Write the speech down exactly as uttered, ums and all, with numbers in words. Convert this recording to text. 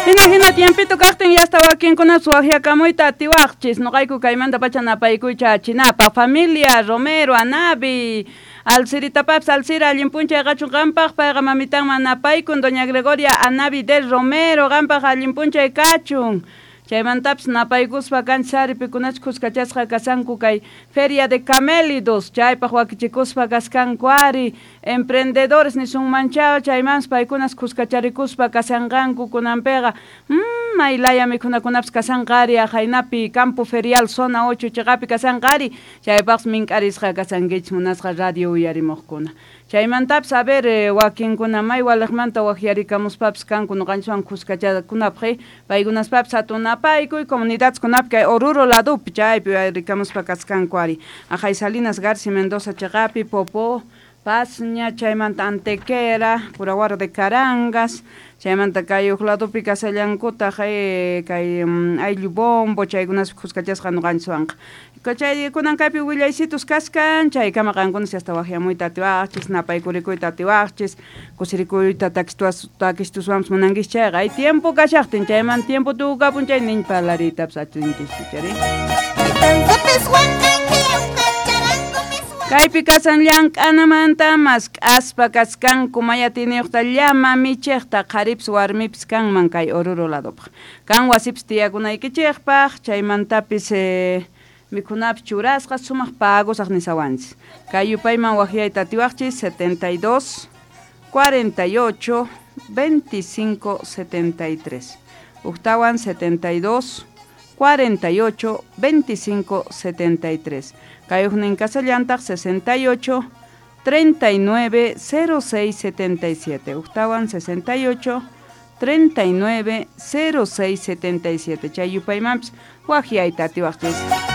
Hina hina tiempito kaqtin yasta wakinkunapas waqyakamuyta atiwaqchis noqayku kaymanta pacha napaykuycha chinapa familia Romero Anabi Alciritapapis Alcira allin p'unchay qachun qampaq payqa mamitanman napaykun doña Gregoria Anabi del Romero qampaq allin p'unchay kachun chaymantapis napaykuspa kanchis ari pikunachus khuskachasqa kasanku kay Feria de Camélidos chaypaq wakichikuspa kaskanku ari emprendedores nisunmanchaw chaymanpas paykunas khuskacharikuspa kasanqanku kunanpiqa mm, may laya mikhunakunapis kasanqa ari aqhaynapi Campo Ferial Zona ocho chiqapi kasanqa ari chaypaqpas mink'arisqa kasankichis munasqa radio uyarimuqkuna chaymantapis a ver eh, wakinkuna may waliqmanta waqyarikamuspapis kanku noqanchiswan khuskachakunapaq paykunaspapis hatun napaykuy comunidadkunapi kay Oruro ladupi chaypi uyarikamuspa kaskanku ari aqhay Salinas Garci Mendoza chiqapi Popó Pasña chaymanta Antequera Curahuaro de Carangas chaymanta kay huk ladupi kasallankutaq eh, kay um, ayllu bombo chaykunaspi khuskachasqa noqanchiswanqa chay kunan kaypi willaysitus kaskan chaykama qankunas hasta waqyamuyta atiwaqchis napaykurikuyta atiwaqchis kusirikuyta takistuas takistuswanpas munankis chayqa hay tiempo kashaqtin chayman tiempo tukukapun chay niñ parlariytapas atinchischu chari Kaypi kasan llank'anamanta mask'aspa kaskanku mayatiniyuqta llama michiqta qharipis warmipis kanman kay Oruro ladupaq kan wasipis tiyakunaykichikpaq chaymantapis eh, mikhunapis churasqa sumaq pagosaq nisawanchis kay yupayman waqyayta atiwaqchis setenta y dos cuarenta y ocho veinticinco setenta y tres Uktawan setenta y dos cuarenta y ocho veinticinco setenta y tres Kay huknin kasallantaq sesenta y ocho treinta y nueve cero seis setenta y siete Uktawan sesenta y ocho treinta y nueve cero seis setenta y siete Chay yupaymanpis waqyayta atiwaqchis.